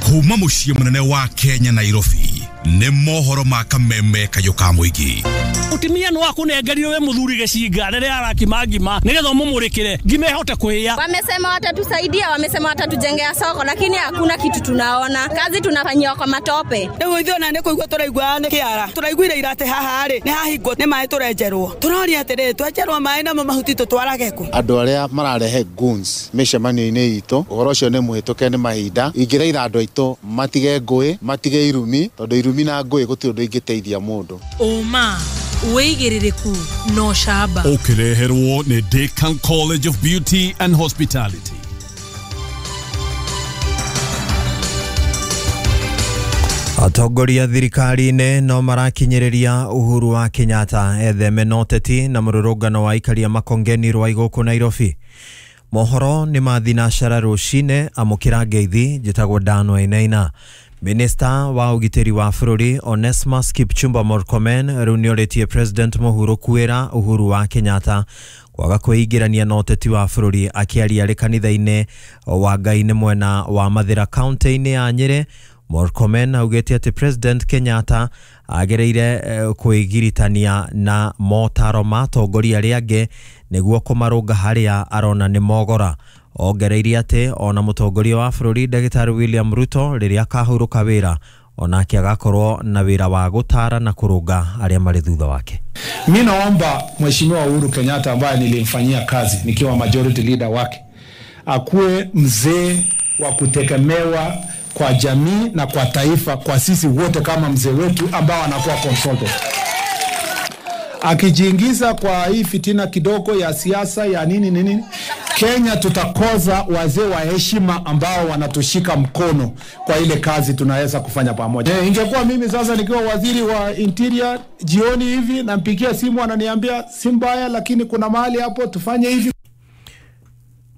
Kuma muciĩ mũnene wa Kenya Nairobi nĩ mohoro ma kameme kayũ ka mũingĩ. Mutumia no akunengerire we muthuri gicinga riria arakima ngima nigetha umumurikire ngima ihote kuhia. Wamesema watatusaidia, wamesema watatujengea soko, lakini hakuna kitu tunaona. Kazi tunafanyiwa kwa matope. Riu ithuĩ ona nĩ kũigua tũraigua nĩ kĩara. Tũraiguire ira atĩ haha rĩ nĩ hahingwo nĩ maĩ tũrenjerwo. Tũroria atĩrĩrĩ, twenjerwo maĩ namo mahuti tũtwarage kũ? Andũ arĩa mararehe goons mĩcemanio-inĩ itũ, ũhoro ũcio nĩ mũhĩtũke nĩ mahinda. Ingĩthaitha andũ aitũ matige ngũĩ, matige irumi, tondũ irumi na ngũĩ gũtirĩ ũndũ ingĩteithia mũndũ. Ũma wĩigĩrĩrĩku no camba. Ũkĩreherwo nĩ Decan College of Beauty and Hospitality. Atongoria thirikari-inĩ no marakinyĩrĩria Uhuru wa Kenyatta etheme na ũteti na mũrũrũngano wa aikaria Makongeni Rwai gũkũ Nairobi. Mohoro nĩ ma thinacara rũcinĩ, amũkĩra ngeithi, njĩtagwo Dan Wainaina. Minista wa ũgitĩri wa bũrũri Onesmus Kipchumba Murkomen rĩu nĩorĩtie President mũhurũku wĩra Uhuru wa Kenyatta kwaga kwĩingĩrania na ũteti wa bũrũri. Akĩaria arĩ kanitha-inĩ wa Ngai nĩ mwena wa Mathĩra kaunti-inĩ ya Nyĩrĩ, Murkomen augĩte atĩ President Kenyatta agereire kwĩgiritania na motaro ma atongoria arĩa angĩ nĩguo kũmarũnga harĩa arona nĩ mogora. Ongereire atĩ ona mũtongoria wa bũrũri Ndagĩtarĩ William Ruto rĩrĩa akahurũka wĩra onake agakorwo na wĩra wa gũtara na kũrũnga arĩa marĩ thutha wake. Mi naomba Mheshimiwa Uhuru Kenyatta ambaye nilimfanyia kazi nikiwa majority leader wake akuwe mzee wa kutegemewa kwa jamii na kwa taifa, kwa sisi wote kama mzee wetu ambao anakuwa consulted. Akijiingiza kwa hii fitina kidogo ya siasa ya nini nini, Kenya tutakosa wazee wa heshima ambao wanatushika mkono kwa ile kazi tunaweza kufanya pamoja. Ingekuwa mimi sasa nikiwa waziri wa interior jioni hivi nampigia simu ananiambia si mbaya, lakini kuna mahali hapo tufanye hivi.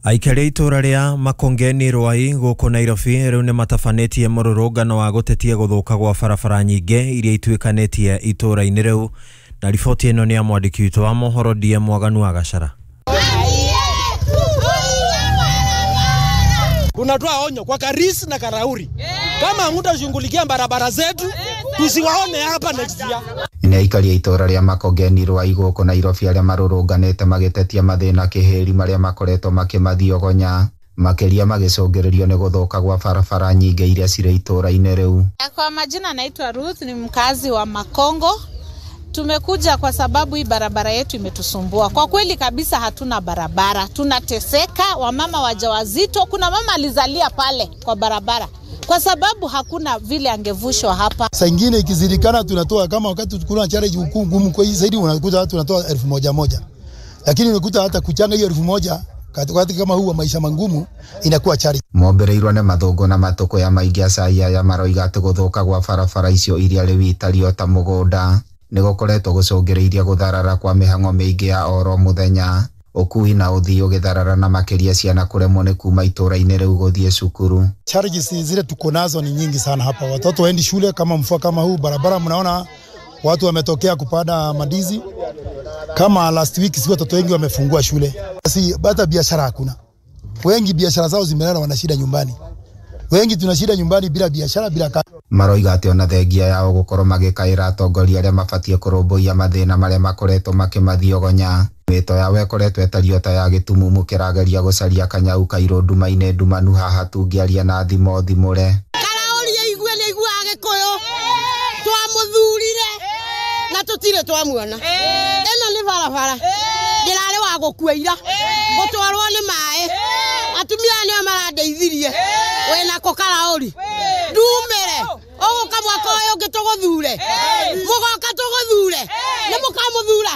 Aikari a itũra rĩa Makongeni Rwai gũkũ Nairobi rĩu nĩ matabanĩtie mũrũrũngano wa gũtetia gũthũka gwa barabara nyingĩ iria ituĩkanĩtie itũra-inĩ rĩu. Na riboti ĩno nĩ ya mwandĩki witũ wa mohoro DM Mwaganu wa Gachara. Tunatoa onyo kwa Karis na Karauri, kama hamtashughulikia barabara zetu tusiwaone hapa next year. Nĩ aikari a itũra rĩa Makongeni Rwai gũkũ Nairobi arĩa marũrũnganĩte magĩtetia mathĩna kĩhĩri marĩa makoretwo makĩmathiogonya, makĩria magĩcũngĩrĩrio nĩ gũthũka gwa barabara nyingĩ iria cirĩ itũra-inĩ rĩu. Kwa majina naitwa Ruth, ni mkazi wa Makongo. Tumekuja kwa sababu hii barabara yetu imetusumbua. Kwa kweli kabisa hatuna barabara, tunateseka, wamama wajawazito, kuna mama alizalia pale kwa barabara kwa sababu hakuna vile angevushwa hapa. Saa ingine ikizidikana tunatoa, kama wakati kuna challenge ngumu kwa hii zaidi unakuta tunatoa 1000, lakini unakuta hata kuchanga hiyo 1000 katikati kama huu wa maisha mangumu inakuwa challenge. Mombereirwo nĩ mathũngũ na matũkũ ya maingĩ acai aya maroiga atĩ gũthũka gwa barabara icio iria rĩu itario ta mũgũnda nĩ gũkoretwo gũcũngĩrĩirie gũtharara kwa mĩhang'o mĩingĩ ya oro mũthenya, ũkui na ũthii ũgĩtharara na makĩria ciana kũremwo nĩ kuma itũra-inĩ rĩu gũthiĩ cukuru. Challenges zile tuko nazo ni nyingi sana hapa. Watoto waendi shule kama mvua kama huu, barabara mnaona watu wametokea kupanda mandizi. Kama last week si watoto wengi wamefungua shule. Si hata biashara hakuna. Wengi biashara zao zimelala, wana shida nyumbani. Wengi tuna shida nyumbani bila biashara bila kazi. Maroiga atĩ ona thengia yao gũkorwo magĩkaĩra atongoria arĩa mabatiĩ kũrũmbũiya mathĩna marĩa makoretwo makĩmathiogonya, mĩto yao ĩkoretwo ĩtariĩ ta ya gĩtumumu kĩrageria gũcaria kanyau kairũ nduma-inĩ ndumanu haha tũngĩaria na thimo thimũre. Karaũri aigue nĩ aiguaga Gĩkũyũ, twamũthurire na tũtirĩ twamuona. Ĩno nĩ barabara ndĩrarĩ wa gũkua ira gũtwarwo nĩ maĩ, atumia aya nĩo marandeithirie. Wĩnako Karaũri ndumĩre ũgũka mwaka ũyũ ũngĩ tũgũthure, mũgoka tũgũthure, nĩ mũkamũthura.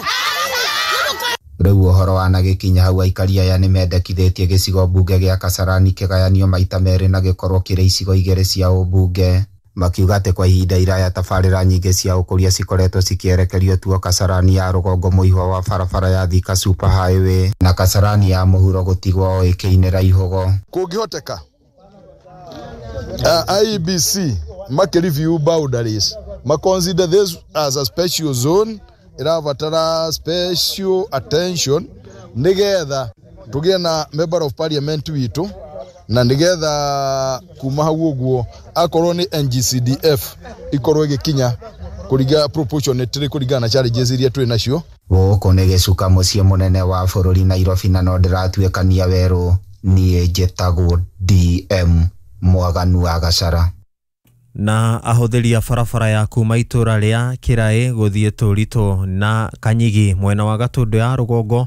Rĩu ũhoro wanagĩkinya hau aikari aya nĩ mendekithĩtie gĩcigo mbunge gĩa Kasarani kĩgayanio maita merĩ na gĩkorwo kĩrĩ icigo igĩrĩ cia ũmbunge, makiuga atĩ kwa ihinda iraya tabarĩra nyingĩ cia ũkũria cikoretwo cikĩerekerio tuo Kasarani ya rũgongo mũihwa wa barabara ya Thika Super Highway na Kasarani ya mũhuro gũtigwo o ĩkĩinĩra ihũgo. Kũngĩhoteka IEBC make review boundaries, ma consider this as a special zone irabatara special attention nigetha tugie na member of parliament witu Na nigetha kuma hau ũguo akorwo nĩ NGCDF ikorwo ĩgĩkinya kũringa proportionately kũringana na challenges iria twĩ nacio. Gũkũ nĩ gĩcuka mũciĩ mũnene wa bũrũri Nairobi, na no ndĩratuĩkania werũ. Niĩ njĩtagwo DM Mwaganu wa Gacara. Na ahũthĩri a barabara ya kuma itũra rĩa Kĩraĩ gũthiĩ Tũritũ na Kanyigi mwena wa Gatũndũ ya rũgongo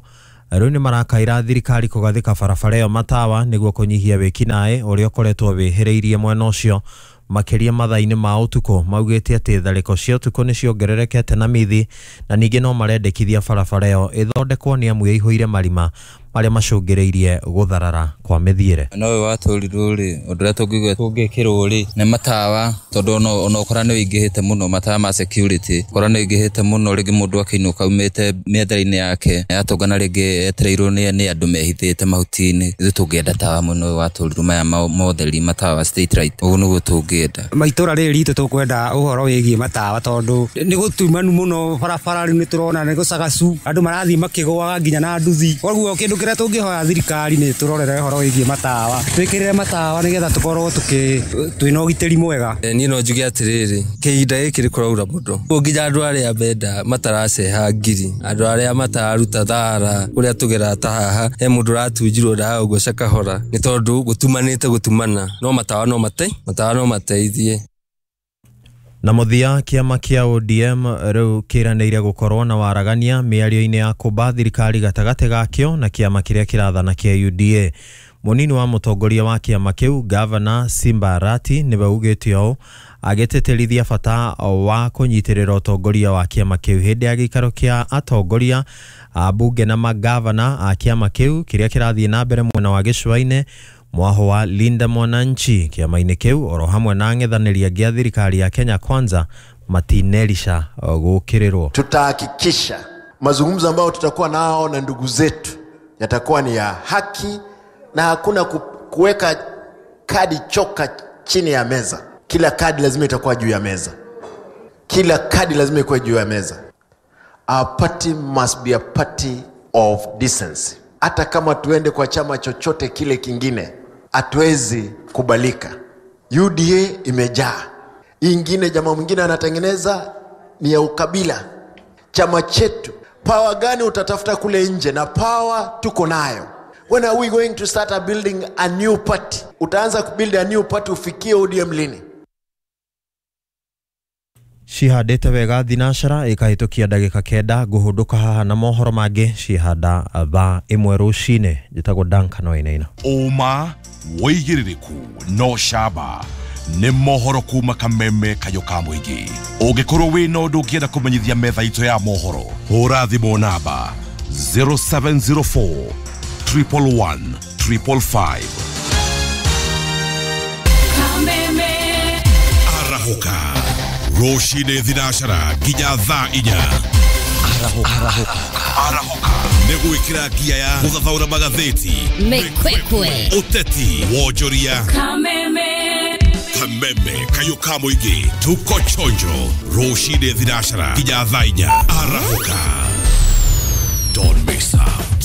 rĩu nĩ marakaira thirikari kũgathĩka barabara ĩyo matawa nĩguo kũnyihia wĩkinaĩ ũrĩa ũkoretwo wĩhĩrĩirie mwena ũcio, makĩria mathaa-inĩ ma ũtukũ. Maugĩte atĩ tharĩko cia ũtukũ nĩ ciongererekete na mithi, na ningĩ no marendekithia barabara ĩyo ĩthondekwo nĩ amu ĩihũire marima marĩa macũngĩrĩirie gũtharara kwa mĩthiĩre. No ũyũ wa Tũrirũ rĩ, ũndũ ũrĩa tũngiuga tũngĩkĩrwo rĩ nĩ matawa, tondũ ona ũkora nĩ ũingĩhĩte mũno, matawa ma security ũkora nĩ ũingĩhĩte mũno, rĩngĩ mũndũ akĩinũka aumĩte mĩethere-inĩ yake atũngana rĩngĩ etereirwo nĩ andũ mehithĩte mahuti-inĩ. Ithuĩ tũngĩenda tawa mũno ũyũ wa Tũrirũ, maya motheri matawa street light, ũguo nĩguo tũngĩenda. Maitũra rĩrĩ ritũ tũkwenda ũhoro wĩgiĩ matawa, tondũ nĩ gũtumanu mũno barabara, rĩu nĩ tũrona nĩ gũcagacu, andũ marathiĩ makĩgũaga nginya na nduthi. Koguo kĩndũ kĩrĩa tũngĩhoya thirikari nĩ tũrorere ũhoro wĩgiĩ matawa, twĩkĩrĩre matawa nĩgetha tũkorwo twĩna ũgitĩri mwega. Niĩ no njuge atĩrĩrĩ, kĩhinda gĩkĩ nĩ kũraura mũno, nginya andũ arĩa menda mataraceha ngiri, andũ arĩa matararuta thara kũrĩa tũgeraga ta haha, he mũndũ ũratunjirwo ndawa ũguo kahora nĩ tondũ gũtumanĩte gũtumana, no matawa no mate, matawa no mateithie. Na mũthia, kĩama kĩa ODM rĩu kĩranĩire gũkorwo na waragania mĩario-inĩ ya kũmba thirikari gatagatĩ gakĩo na kĩama kĩrĩa kĩrathana kĩa UDA. Mũnini wa mũtongoria wa kĩama kĩu Gavana Simba Arati nĩwe ugĩte ũũ, agĩtĩtĩrithia bata wa kũnyitĩrĩra ũtongoria wa kĩama kĩu hĩndĩ ya gĩikaro kĩa atongoria a bunge na magavana a kĩama kĩu kĩrĩa kĩrathiĩ na mbere mwena wa gĩcũa-inĩ mwaho wa Linda Mwananchi. Kĩama-inĩ kĩu oro hamwe na ang'ethanĩri angĩ a thirikari ya Kenya Kwanza matinerisha gũkĩrĩrwo. Tutahakikisha mazungumzo ambayo tutakuwa nao na ndugu zetu yatakuwa ni ya haki na hakuna kuweka kadi choka chini ya meza. Kila kadi lazima itakuwa juu ya meza. Kila kadi lazima ikuwe juu ya meza. Our party must be a party of decency. Hata kama tuende kwa chama chochote kile kingine, hatuwezi kubalika. UDA imejaa. Ingine jamaa mwingine anatengeneza ni ya ukabila. Chama chetu, power gani utatafuta kule nje? Na power tuko nayo. When are we going to start building a new party? Utaanza kubuild a new party ufikie ODM lini? Cihandĩte wega thinacara ĩkahĩtũkia ndagĩka 9 ngũhũndũka haha na mohoro mangĩ cihanda thaa 1 rũcinĩ. Njĩtagwo Duncan Wainaina. Ũma wĩigĩrĩrĩku no camba nĩ mohoro kuma Kameme Kayũ ka mũingĩ. Ũngĩkorwo wĩna ũndũ ũngĩenda kũmenyithia metha itũ ya mohoro, hũra thimũ namba 0704 111 555. Kameme arahũka rũcinĩ thinacara nginya thaa 4. Arahũka nĩ gwĩkĩra ngia ya gũthathaũra magathĩti, mĩkwekwe, ũteti, wonjoria. Kameme Kameme Kayũ ka mũingĩ, tuko chonjo rũcinĩ thinacara nginya thaa 4. Arahũka, don't miss out.